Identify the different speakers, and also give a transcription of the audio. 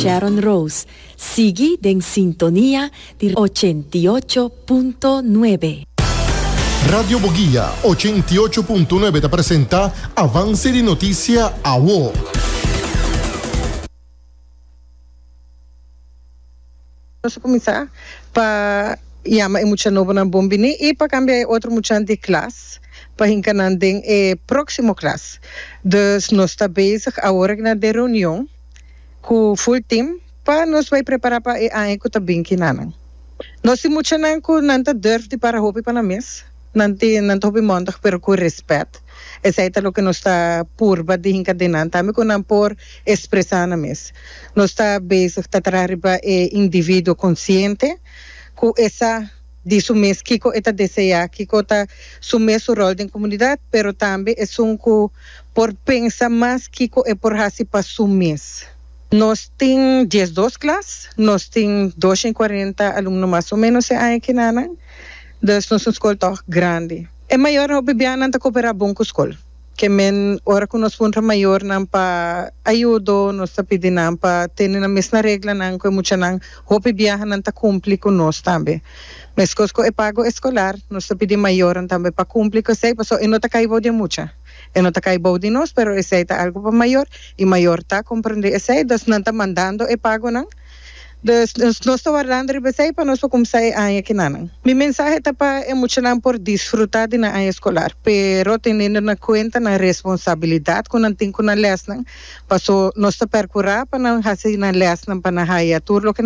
Speaker 1: Sharon Rose. Sigui den sintonia di 88.9.
Speaker 2: Radio Boguia 88.9 ta presenta Avance di Noticia Awo.
Speaker 3: Nos a kuminsá pa yama e mucha nobonan bon bini i pa kambia e otro muchanan di klas pa hinka nan den e próksimo klas. Dus nos ta bezig awor na den reunion ku full team pa nos bai prepará pa e aña ku ta bin kinanan. Nos tin muchanan ku nan ta durf di para hopi pa nan mes. Nan tin nan ta hopi mondig pero ku respet. Esei ta loke nos ta purba di hinka den nan tambe ku nan por expresa nan mes. Nos ta bezig ta traha riba e individuo konsiente ku e sa di su mes kiko e ta desea, kiko ta su mes su rol den komunidat, pero tambe esun ku por pensa mas kiko e por hasi pa su mes. Nos tin 12 klas, nos tin 240 alumno mas o menos e aña kinanan, dus nos un skol tòg grandi. E mayornan hopi bianan ta koperá bon ku skol. Ke men ora ku nos puntra mayornan pa ayudo, nos ta pidi nan pa tene nan mes na reglanan ku e muchanan hopi biaha nan ta kumpli ku nos tambe. Meskos ku e pago eskolar, nos ta pidi mayornan tambe pa kumpli ku esei pasobra e no ta kai bou di e mucha, e no ta kai bou di nos, pero esei ta algu pa mayor i mayor ta komprende esei, dus nan ta mandando e pagonan. Dus nos ta wardando riba esei pa nos por kumsa e aña kinanan. Mi mensahe ta pa e muchanan por disfruta di nan aña eskolar, pero teniendo na kuenta nan responsabilidat ku nan tin ku nan lèsnan, paso nos ta perkurá pa nan hasi nan lèsnan pa nan haya tur loke.